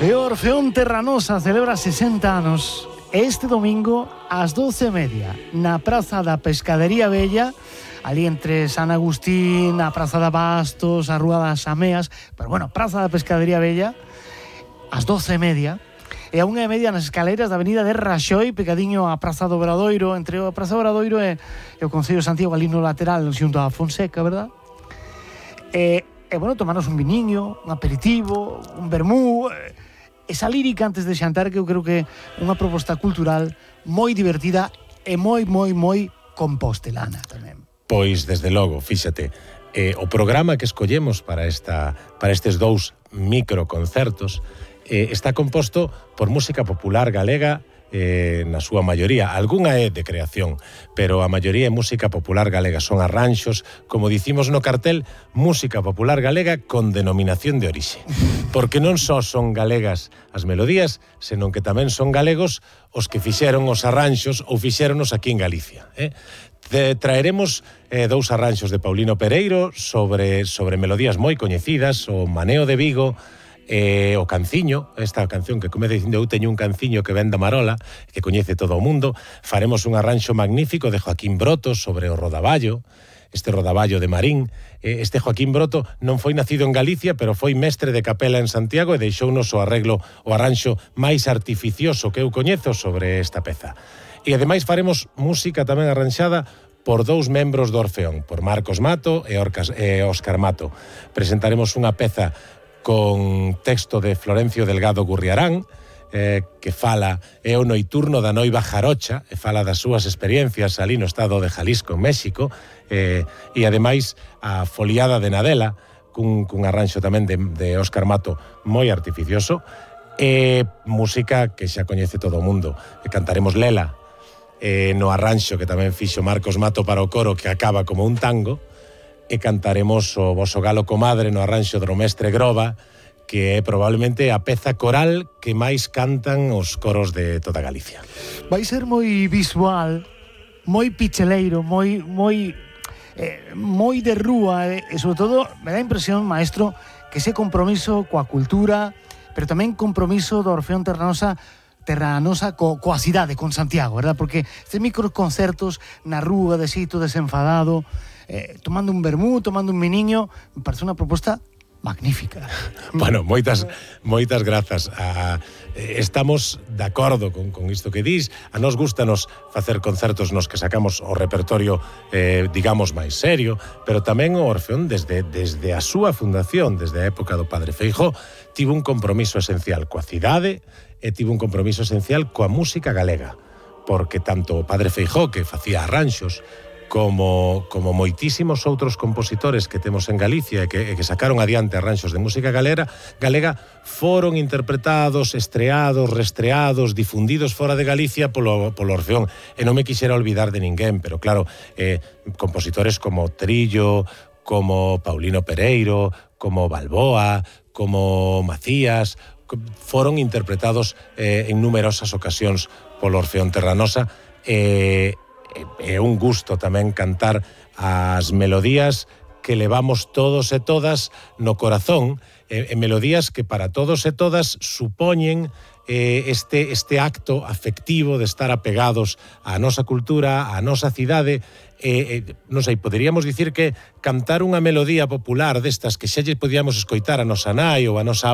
E o Orfeón Terranosa celebra 60 anos este domingo ás 12:30 na Praza da Pescadería Vella, ali entre San Agustín, a Praza de Bastos, a Rúa das Ameas, pero bueno, Praza da Pescadería Vella, ás 12:30, e a 1:30 nas escaleiras da Avenida de Raxoi, pegadiño á Praza do Obradoiro, entre a Praza do Obradoiro e o Concello de Santiago, ali no lateral, xunto a Fonseca, verdad? E bueno, tomarnos un viniño, un aperitivo, un vermú, esa lírica antes de xantar, que eu creo que é unha proposta cultural moi divertida e moi compostelana tamén. Pois, desde logo, fíxate, o programa que escollemos para estes dous microconcertos está composto por música popular galega na súa maioría. Algunha é de creación, pero a maioría é música popular galega. Son arranxos, como dicimos no cartel, música popular galega con denominación de orixe. Porque non só son galegas as melodías, senón que tamén son galegos os que fixeron os arranxos ou fixéronos aquí en Galicia. Traeremos dous arranxos de Paulino Pereiro sobre melodías moi coñecidas, o Maneo de Vigo, o Canciño, esta canción que comeza dicindo eu teño un canciño que ven da Marola, que coñece todo o mundo. Faremos un arranxo magnífico de Joaquín Broto sobre o rodaballo, este rodaballo de Marín. Este Joaquín Broto non foi nacido en Galicia, pero foi mestre de capela en Santiago e deixounos o arranxo máis artificioso que eu coñezo sobre esta peza. E ademais faremos música tamén arranxada por dous membros do Orfeón, por Marcos Mato e Óscar Mato. Presentaremos unha peza con texto de Florencio Delgado Gurriarán, que fala, é o noiturno da noiva jarocha, e fala das súas experiencias ali no estado de Jalisco, en México, e ademais a foliada de Nadela, cun arranxo tamén de Óscar Mato moi artificioso, e música que xa coñece todo o mundo. Cantaremos Lela, no arranxo que tamén fixo Marcos Mato para o coro, que acaba como un tango, e cantaremos o Voso Galo Comadre no arranxo do mestre Groba, que é probablemente a peza coral que máis cantan os coros de toda Galicia. Vai ser moi visual, moi picheleiro, moi de rúa, e sobre todo me dá a impresión, maestro, que ese compromiso coa cultura, pero tamén compromiso do Orfeón Terranosa coa cidade, con Santiago, verdad? Porque estes microconcertos na rúa, de xeito desenfadado, tomando un vermú, tomando un viniño, me parece unha proposta magnífica. Bueno, moitas grazas. Estamos de acordo con isto que dis. A nos gustanos facer concertos nos que sacamos o repertorio, digamos, máis serio, pero tamén o Orfeón, desde a súa fundación, desde a época do Padre Feijóo, tivo un compromiso esencial coa cidade e tivo un compromiso esencial coa música galega, porque tanto o Padre Feijóo, que facía arranxos, como moitísimos outros compositores que temos en Galicia e que sacaron adiante arranxos de música galega, foron interpretados, estreados, restreados, difundidos fora de Galicia polo Orfeón. E non me quixera olvidar de ninguén, pero claro, compositores como Trillo, como Paulino Pereiro, como Balboa, como Macías, foron interpretados en numerosas ocasións polo Orfeón Terranosa. É un gusto tamén cantar as melodías que levamos todos e todas no corazón, melodías que para todos e todas supoñen este acto afectivo de estar apegados á nosa cultura, á nosa cidade. Non sei, poderíamos dicir que cantar unha melodía popular destas que xa lle podíamos escoitar a nosa nai ou a nosa